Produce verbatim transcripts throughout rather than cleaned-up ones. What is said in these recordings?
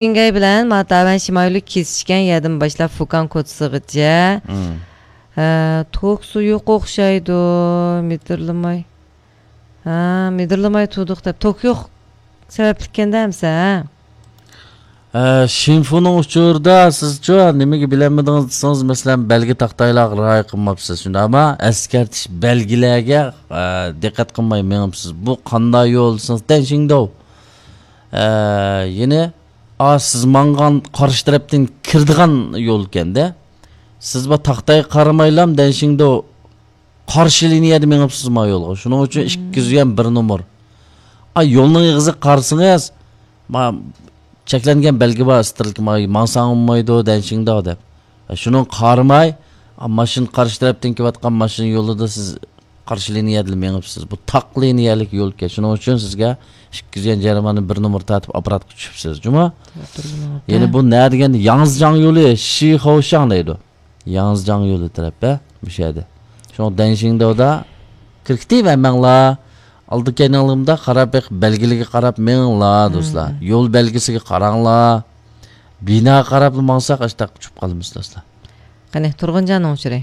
شېنگەي بىلەن ماتاۋەن شىمايلۇ كېسىشكەن يەردىن باشلاپ فۇكان كوچىسىغىچە. مم. ھە، توكسى يوق ئوخشايدۇ، مىدىرلىماي. ھە، مىدىرلىماي تۇردۇق دەپ. توك يوق سەۋەبلىككەندە ئەمسە، ھە؟ ئە، شىنفۇنىڭ ئۇچۇرىدا سىزچۇ نېمىگە بىلەلمىدىڭىز دېسىڭىز، مەسىلەن، بەلگە تاختايلارغا رىئايە قىلماپسىز. شۇنداقمۇ؟ ئەسكەرتىش بەلگىلەرگە، ئە، دىققەت قىلماي مېڭىپسىز. بۇ قانداق يول دېسىڭىز، دەنشىڭداۋ. ئە، يەنى، ئا، سىز ماڭغان قارشى تەرەپتىن كىرىدىغان يول ئىكەندە. سىز بۇ تاختايغا قارىمايلام دەنشىڭداۋ قارشى لىنىيەدە مېڭىپسىز ما يولغا. شۇنىڭ ئۈچۈن ئىككى يۈز يۈەن بىر نومۇر. ئا، يولنىڭ ئېغىزىغا قارىسىڭىز، ما، چەكلەنگەن بەلگە بار، سترېلكا، ما، ماڭساڭ بولمايدۇ، دەنشىڭداۋ دەپ. ئا، شۇنىڭغا قارىماي، ئا، ماشىنا قارشى تەرەپتىن كېلىۋاتقان ماشىنا يولىدا سىز قارشى لىنىيەدىلا مېڭىپسىز. بۇ تاق لىنىيەلىك يول ئىكەن. شۇنىڭ ئۈچۈن سىزگە ئىككى يۈز يۈەن جەرىمانە بىر نومۇر تارتىپ ئاپپاراتقا چۈشۈپسىز. جۇمۇ؟ يەنە بۇ نە دېگەندە ياڭزىجاڭ يولى، شىخوشاڭ دەيدۇ. ياڭزىجاڭ يولى تەرەپ، ھە؟ مۇشۇ يەردە. شۇڭا دەنشىڭداۋدا كىركىتىۋەرمەڭلار. ئالدى كەينىڭلىمدا قاراپ بېقىپ، بەلگىلىگە قاراپ مېڭىڭلار، دوستلار. يول بەلگىسىگە قاراڭلار. بىناغا قاراپلا ماڭساق، ئاشتاق چۈشۈپ قالىمىز، دوستلار. قېنى، تۇرغۇنجاننىڭ ئۇچۇرى.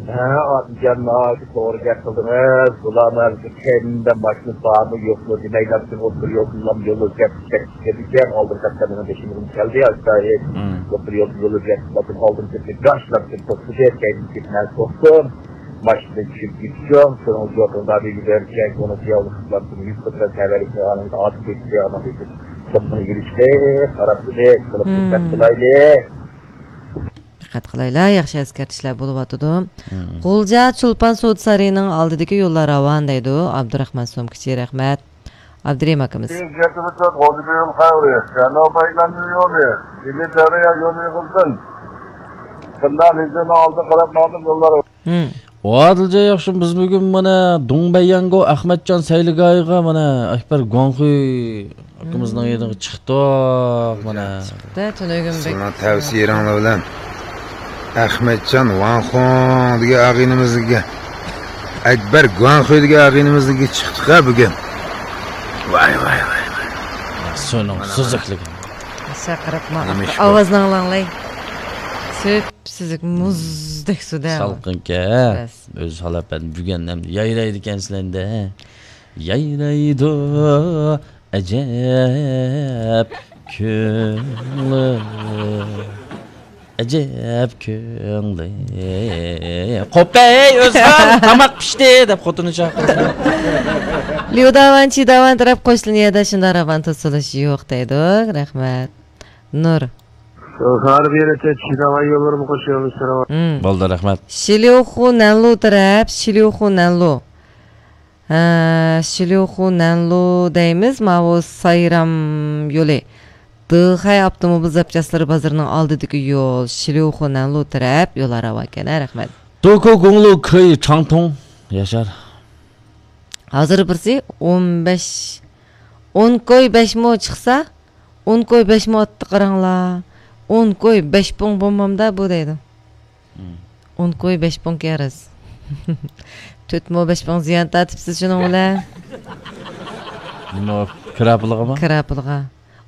ھە، ئادىلجان، ناھايىتى توغرا گەپ قىلدىڭىز. بۇلارنىڭ ھەرگىز كەينىدە ماشىنا بارمۇ، يوقمۇ دېمەيلا، پۈتۈن ئوتتۇرا يولدىنلا يول ئۆزگەرتىش كەتكەن ئىكەن. ئالدىن قەدەمنىڭ بېشىمىزغا كەلدى، ئاشۇنداق. مم. ئوتتۇرا يولدا يول ئۆزگەرتىپ، ئالدىن كەتتى، گاشلاپ كېتىپ توختىدى، كەينىدىن كېتىپ مەن توختىدىم. ماشىنىدىن چۈشۈپ كېتىشىم، شۇنىڭ جوقىڭدا بىر يۈبەرگەن، كۆڭۈل خىياللىق قىلىپ، يۈز قىرىق تەۋەلىك قىلغان، ئاتىپ كېتىشتى، ئانىڭ كېيىن توختىماي يۈرۈشتى، قاراپ تۇردى، قىلىپ دىققەت قىلايلى. دىققەت قىلايلى، ياخشى ئەسكەرتىشلەر بولۇۋاتىدۇ. مم. غۇلجا چولپان سودا سارىيىنىڭ ئالدىدىكى يوللار راۋان دەيدۇ ئابدۇراخمان سومكىچى، رەھمەت. ئابدۇرېھىم ئاكىمىز. مم. ئادىلجان ياخشى، بىز بۈگۈن مانا دۇڭبەييەنگو ئەخمەتجان سەيلىگاھىغا مانا ئەكبەر گۇاڭخۇي ئاكىمىزنىڭ يېنىغا چىقتۇق، مانا. چىقتى، تۈنۈگۈن بەك سىلەرنىڭ تەۋسىيەڭلار بىلەن ئەخمەتجان ۋاڭخۇڭ دېگەن ئاغىنىمىزگە، ئەكبەر گۇاڭخۇي دېگەن ئاغىنىمىزگە چىقتۇق ھە بۈگۈن. ۋاي، ۋاي، ۋاي، ۋاي. سۇنىڭ سۈزۈكلۈكى. ئاشۇ قاراپما، نېمە ئىش بۇ؟ ئاۋازنى ئاڭلاڭلاي. سۈپسۈزۈك، مۇزدەك سۇدە. سالقىنكەن. بەس. ئۆزى ھالاپەن بۈگۈن ھەم يايرايدىكەن سىلەندە. يايرايدۇ ئەجەب كۆڭلۈم، ئەجەب كۆڭلۈم. قوپەي ئۆزۈڭ، تاماق پىشتى دەپ خوتۇنى چاقىرىدۇ. ليۇداۋان، چىداۋان تەرەپ قوشلىنىيەدە شۇنداق راۋان توسۇلۇش يوق دەيدۇ. رەھمەت. نۇر. شوفار بېرىتى چىداۋان يوللىرىمۇ قوشۇلمىش راۋان. مم. بولدى، رەھمەت. شىليۇخۇ نەنلۇ تەرەپ، شىليۇخۇ نەنلۇ. ھە، شىليۇخۇ نەنلۇ دەيمىز، ماۋۇ سايرام يولى. دېخەي ئاپتوموبىل زاپچاسلىرى بازىرىنىڭ ئالدىدىكى يول، شىليۇخۇ نەنلۇ تەرەپ يوللار راۋانكەن، ھە، رەھمەت. دوكۇ گۇڭلۇ كۆي چاڭتۇڭ ياشار. ھازىر بىرسى ئون بەش، ئون كوي بەشمۇ چىقسا، ئون كوي بەشمۇ ئاتتى قاراڭلار. ئون كوي بەش پۇڭ بولمامدا بۇ دەيدۇ. مم. ئون كوي بەش پۇڭ كېرىز. تۆت مو بەش پۇڭ زىيان تارتىپسىز شۇنىڭ بىلەن. نېمە، كىرا پۇلىغىمۇ؟ كىرا پۇلىغا.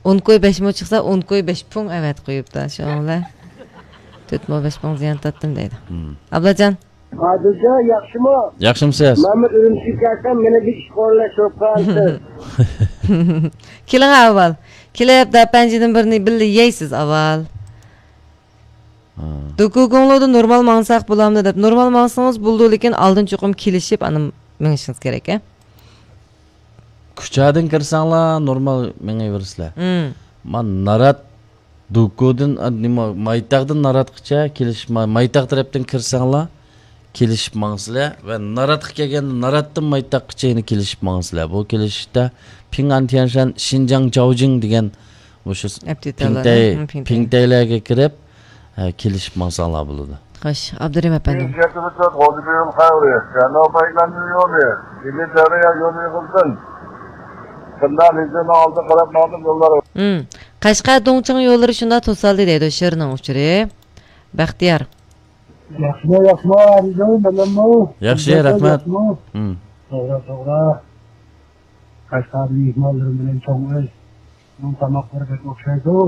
ئون كوي بەش مو چىقسا، ئون كوي بەش پۇڭ ئەۋەتىپ قويۇپتۇ شۇنىڭ بىلەن. تۆت مو بەش پۇڭ زىيان تارتتىم دەيدۇ. مم. ئابلاجان. ئادىلجان، ياخشىمۇ؟ ياخشىمسىز؟ مەنمۇ ئۈرۈمچىگە كەلسەم، مېنى بىر ئىش قورلاشتۇرۇپ قالىسىز. كېلىڭ ئاۋۋال. كېلىپ، داپەنجىدىن بىرنى بىللە يەيسىز ئاۋۋال. ھا. دوكۇگۇڭلۇدا نورمال ماڭساق بولامدۇ دەپ، نورمال ماڭسىڭىز بولىدۇ، لېكىن ئالدىن چوقۇم كېلىشىپ، ئاندىن مېڭىشىڭىز كېرەك، ھە؟ كۇچادىن كىرسەڭلار نورمال مېڭىۋېرىسىلەر. مم. ما نارات دوكۇدىن، ئا، نېمە، مايتاغدىن ناراتقىچە كېلىشىپ، ما-، مايتاغ تەرەپتىن كىرسەڭلار كېلىشىپ ماڭىسىلەر ۋە ناراتقا كەلگەندە ناراتتىن مايتاغقىچە يەنە كېلىشىپ ماڭىسىلەر. بۇ كېلىشىشتە پىڭئان تيەنشەن شىنجاڭ جاۋجىڭ دېگەن مۇشۇ ئەپتىتالار، پىڭتەي، ھە، پىڭتەي. پىڭتەيلەرگە كىرىپ، ھە، كېلىشىپ ماڭساڭلار بولىدۇ. خوش، ئابدۇرېھىم ئەپەندىم. مم. قەشقەر دۇڭچىڭ يوللىرى شۇنداق توسالدى دەيدۇ شىرنىڭ ئۇچۇرى. بەختىيار. ياخشىمۇ، ياخشىمۇ، ئارىزۇ، مەنمۇ. ياخشى، رەھمەت. ياخشىمۇ؟ مم. توغرا، توغرا. قەشقەر مېھمانلىرىم بىلەن چوڭ ئۆي. ئۇنىڭ تاماقلىرى بەك ئوخشايدۇ.